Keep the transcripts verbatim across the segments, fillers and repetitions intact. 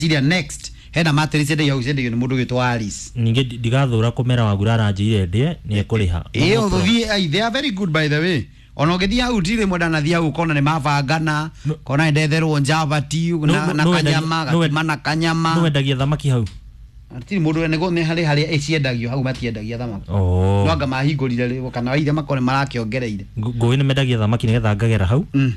Ngwĩciria next hena mattress ĩndagio hau, ciendagio nĩ mũndũ wĩtwo Alice. Ningĩ ndigathũra kũmera Wagura aranjĩire ndĩe nĩ ekũrĩha. Ĩĩ, ũthiĩ ai, they are very good, by the way. Ona ũngĩthiĩ hau tirĩ mwenda nathiĩ hau ũkona nĩ mabangana, kona nĩ ndetherwo njabati na, na no wendagia- kanyama no gakima na kanyama. Nĩ wendagia thamaki hau? Tirĩ mũndũ nĩguo nĩ harĩ harĩa ĩciendagio, hau matiendagia thamaki. Oh. No anga mahingũrire rĩ kana waithe makorwo nĩ marakĩongereire. Ngũ- ngũĩ nĩ mendagia thamaki nĩgetha ngagera hau. Mm.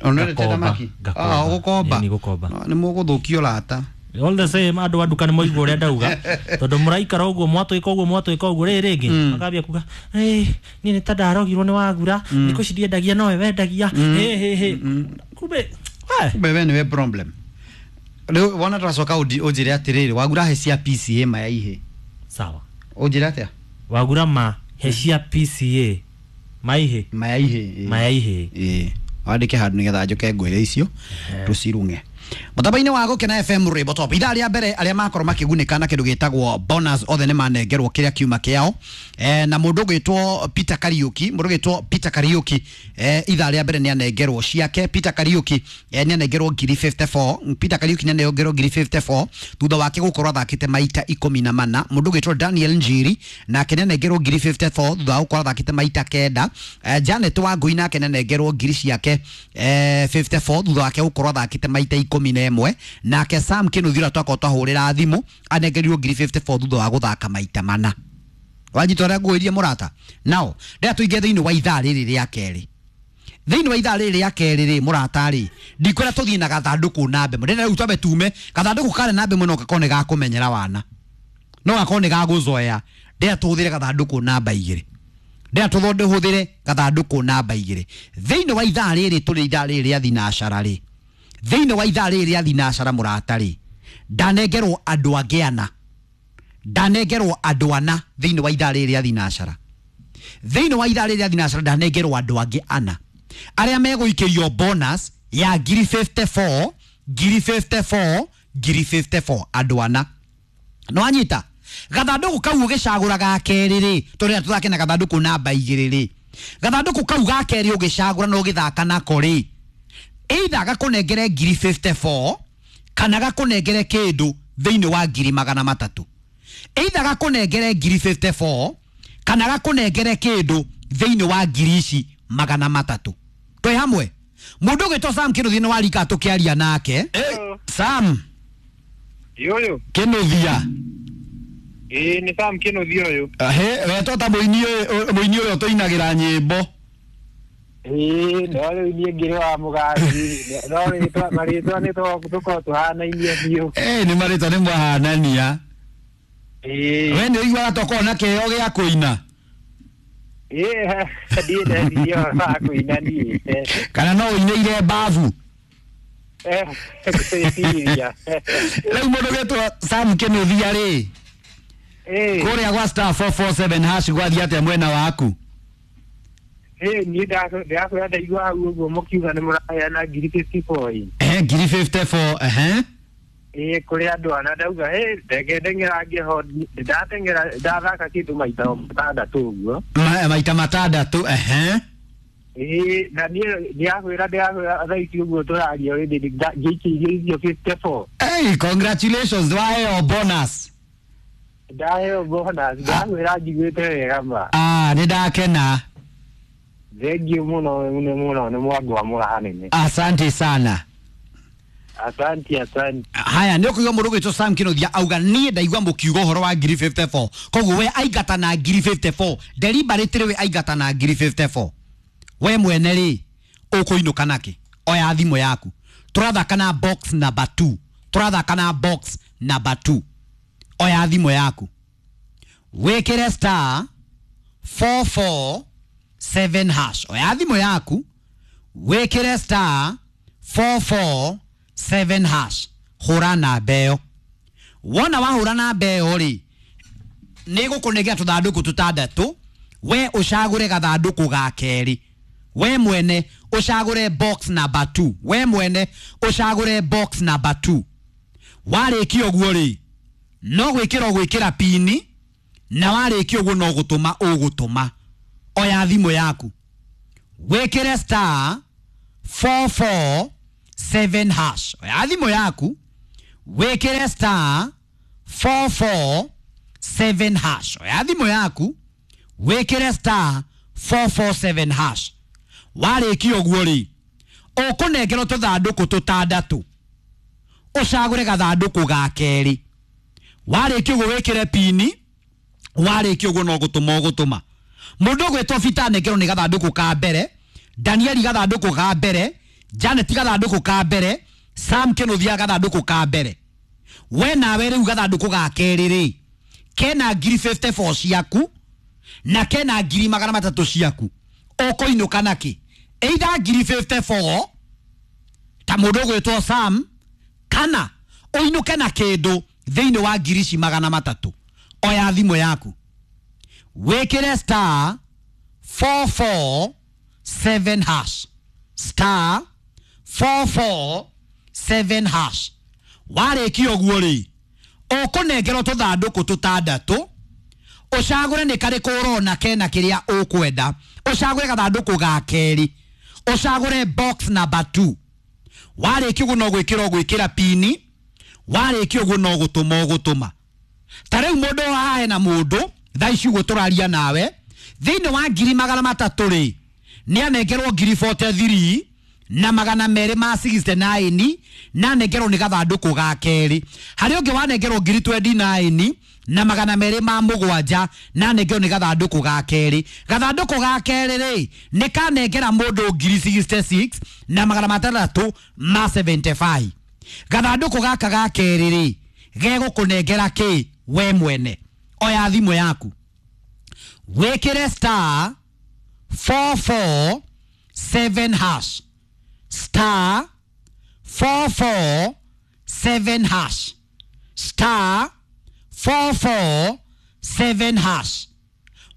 Ona wendete Ngakomba, thamaki? ngakomba. Ah, ũgũkomba? Ĩĩ, nĩ gũkomba. No, nĩ mũgũthũkio rata. All the same, andũ a nduka nĩ moigua ũrĩa ndauga, tondũ mũraikara ũguo, mwatwĩka ũguo, mwatwĩka ũguo rĩrĩ rĩngĩ makambia kuga, "Ĩ, niĩ nĩ ta ndarogirwo nĩ Wagura, thikũ ici ndiendagia nowe wendagia." Hĩ hĩ hĩ, kumbe we. Kumbe we nĩwe problem. Rĩu wona twacoka ũndi- ũnjĩre atĩrĩrĩ, Wagura he cia P C A maya ihĩ. Sawa. Ũnjĩre atĩa? Wagura ma he cia P C A maihĩ. Maya ihĩ, ĩĩ. Maya ihĩ. Ĩĩ, wandĩke handũ nĩgetha njũke ngwĩre icio tũcirung'e mũtambo-inĩ wa Gũkena F M Rwĩmbo Top. Ithaa rĩa mbere, arĩa makorwo makĩgunĩka na kĩndũ gĩtagwo bonus othe nĩ manengerwo kĩrĩa kiuma kĩao, eh, na mũndũ ũgwĩtwo Peter Kariuki, mũndũ ũgwĩtwo Peter Kariuki, eh, ithaa rĩa mbere nĩ anengerwo ciake. Peter Kariuki, eh, nĩ anengerwo ngiri mĩrongo ĩna na inya. Peter Kariuki nĩ anengerwo ngiri mĩrongo ĩna na inya thutha wake gũkorwo athakĩte maita ikũmi na mana. Mũndũ ũgwĩtwo Daniel Njiri nake nĩ anengerwo ngiri mĩrongo ĩna na inya thutha wa gũkorwo athakĩte maita kenda. eh, Janet Wangui nake nĩ anengerwo ngiri ciake eh, mĩrongo ĩna na inya thutha wake gũkorwo athakĩte maita ikũmi na ĩmwe. Nake Sam Kĩnuthia ũrĩa twakorwo twahũrĩra thimũ anengerirwo ngiri mĩrongo ĩna na inya thutha wa gũthaka maita mana. Wanyita ũrĩa ngũĩrie, mũrata? Nao ndĩra tũingĩ thĩinĩ wa ithaa rĩrĩ rĩa kerĩ. Thĩinĩ wa ithaa rĩrĩ rĩa kerĩ rĩ, mũrata rĩ, ndikwĩra tũthiĩ na gathandũkũ namba ĩmwe. Ndĩrenda rĩu twambe tume gathandũkũ karĩa namba ĩmwe, no gakorwo nĩ gakũmenyera wana, no gakorwo nĩ gagũzoea. Ndĩra tũhũthĩre gathandũkũ namba igĩrĩ, ndĩra tũthonde gathandũkũ namba igĩrĩ thĩinĩ wa ithaa rĩrĩ tũrĩ, ithaa rĩrĩ rĩa thinacara rĩ. Thĩinĩ wa ithaa rĩrĩ rĩa thinacara, mũrata rĩ, ndanengerwo andũ angĩ ana, ndanengerwo andũ ana thĩinĩ wa ithaa rĩrĩ rĩa thinacara. Thĩinĩ wa ithaa rĩrĩ rĩa thinacara ndanengerwo andũ angĩ ana arĩa megũikĩrio bonus ya ngiri mĩrongo ĩna na inya, ngiri mĩrongo ĩna na inya, ngiri mĩrongo ĩna na inya, andũ ana. No anyita gathandũkũ kau ũgĩcagũra ga kerĩ rĩ, tũrĩa tũthake na gathandũkũ namba igĩrĩ rĩ, gathandũkũ kau ga kerĩ ũgĩcagũra na ũgĩthaka nako rĩ, either gakũnengere ngiri mĩrongo ĩna na inya kana gakũnengere kĩndũ thĩinĩ wa ngiri magana matatũ. Either gakũnengere ngiri mĩrongo ĩna na inya kana gakũnengere kĩndũ thĩinĩ wa ngiri ici magana matatũ. Twĩ hamwe. Mũndũ ũgwĩtwo Sam Kĩnuthia nĩ warika tũkĩaria nake. Sam. Ũyũ. Kĩnuthia. Ĩĩ, nĩ Sam Kĩnuthia ũyũ. He wetwo ta mũini ũyũ, mũini ũrĩa ũtũinagĩra nyĩmbo. Ĩĩ, no rĩu niĩ ngĩrĩ wa mũgaci, no rĩtwa marĩtwa nĩ tũkorwo tũhanainie biũ. Eh, nĩ marĩtwa nĩ mwahanania. Ĩĩ. We nĩ ũiguaga tokorwo na kĩheo gĩa kũina? Ĩĩ, ndiĩ ndeciria ũhoro wa kũina niĩ. Kana no ũinĩire babu? Eh, gwĩciria. Rĩu mũndũ ũgwĩtwo Sam Kĩnuthia rĩ, Ĩĩ. kũrĩa gwa star four four seven hash gwathiĩ atĩa mwena waku? Ĩĩ, niĩ ndĩrakwĩra ndaigua hau ũguo mũkiuga nĩ mũraheana ngiri mĩrongo ĩna na inya ĩ. Ehe, ngiri mĩrongo ĩna na inya, ehe. Ĩĩ, kũrĩ andũ ana, ndauga ĩ ndenge ndeng'erangie ho, ndateng'era ndathaka kĩndũ maita matandatũ ũguo. Ma, maita matandatũ, ehe. Ĩĩ, na niĩ ndĩrakwĩra ndĩrakwĩra thaa ici ũguo tũraria already ngĩikĩirio icio mĩrongo ĩna na inya. Hey, congratulations, waheo bonus. Ndaheo bonus, ndĩrakwĩra njiguĩte wega ma. Ah, nĩ ndakena. Thengiũ mũno mũno mũno, nĩ mwangwamũra hanene. Asante sana. Asante, asante. Haya, nĩ ũkũigua mũndũ ũgwĩtwo Sam Kĩnuthia auga, niĩ ndaigua mũkiuga ũhoro wa ngiri mĩrongo ĩna na inya, koguo we aingata na ngiri mĩrongo ĩna na inya deliberately. We aingata na ngiri mĩrongo ĩna na inya, we mwene rĩ, ũkũinũka nakĩ? Oya thimũ yaku, tũrathaka na box number two, tũrathaka na box number two. Oya thimũ yaku, wĩkĩre star four four seven hash. Oya thimũ yaku, wĩkĩre star four four seven hash, hũra namba ĩyo. Wona wahũra namba ĩyo rĩ, nĩ gũkũnengera tũthandũkũ tũtandatũ, we ũcagũre gathandũkũ ga kerĩ. We mwene ũcagũre box number two, we mwene ũcagũre box number two. Warĩkia ũguo rĩ, no gwĩkĩra ũgwĩkĩra pini, na warĩkia ũguo no gũtũma ũgũtũma. Oya thimũ yaku, wĩkĩre star four four seven hash. Oya thimũ yaku, Wĩkĩre star four four seven hash. Oya thimũ yaku wĩkĩre star four four seven hash. Warĩkia ũguo rĩ, ũkũnengerwo tũthandũkũ tũtandatũ, ũcagũre gathandũkũ ga kerĩ. Warĩkia ũguo wĩkĩre pini, warĩkia ũguo no gũtũma ũgũtũma. Mũndũ ũgwĩtwo Peter anengerwo nĩ gathandũkũ ka mbere, Danieli gathandũkũ ka mbere, Janet gathandũkũ ka mbere, Sam Kĩnũthia gathandũkũ ka mbere. We nawe rĩu gathandũkũ ga kerĩ rĩ, kena ngiri fifty four ciaku na kena ngiri magana matatũ ciaku. Ũkũinũka nakĩ? Either ngiri fifty four ta mũndũ ũgwĩtwo Sam, kana ũinũke na kĩndũ thĩinĩ wa ngiri ici magana matatũ. Oya thimũ yaku wĩkĩre star four four seven hash, star four four seven hash. Warĩkia ũguo rĩ, ũkũnengerwo tũthandũkũ tũtandatũ, ũcagũre nĩ karĩkũ ũrona kena kĩrĩa ũkwenda, ũcagũre gathandũkũ ga kerĩ, ũcagũre box number two. Warĩkia ũguo no gwĩkĩra ũgwĩkĩra pini, warĩkia ũguo no gũtũma ũgũtũma. Ta rĩu mũndũ haha hena mũndũ thaa ici ũguo tũraria nawe, thĩinĩ wa ngiri magana matatũ rĩ, nĩ anengerwo ngiri forty three na magana merĩ ma sixty nine, na anengerwo nĩ gathandũkũ ga kerĩ. Harĩ ũngĩ wanengerwo ngiri twenty nine na magana merĩ ma mũgwanja, na anengerwo nĩ gathandũkũ ga kerĩ. Gathandũkũ ga kerĩ rĩ, nĩ kanengera mũndũ ngiri sixty six na magana matandatũ ma seventy five. Gathandũkũ gaka ga kerĩ rĩ, gegũkũnengera kĩ we mwene? Oya thimũ yaku wĩkĩre star four four seven hash, star four four seven hash, star four four seven hash.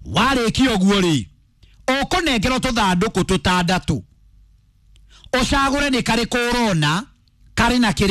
Warĩkia ũguo rĩ, ũkũnengerwo tũthandũkũ tũtandatũ, ũcagũre nĩ karĩkũ ũrona karĩ na kĩrĩa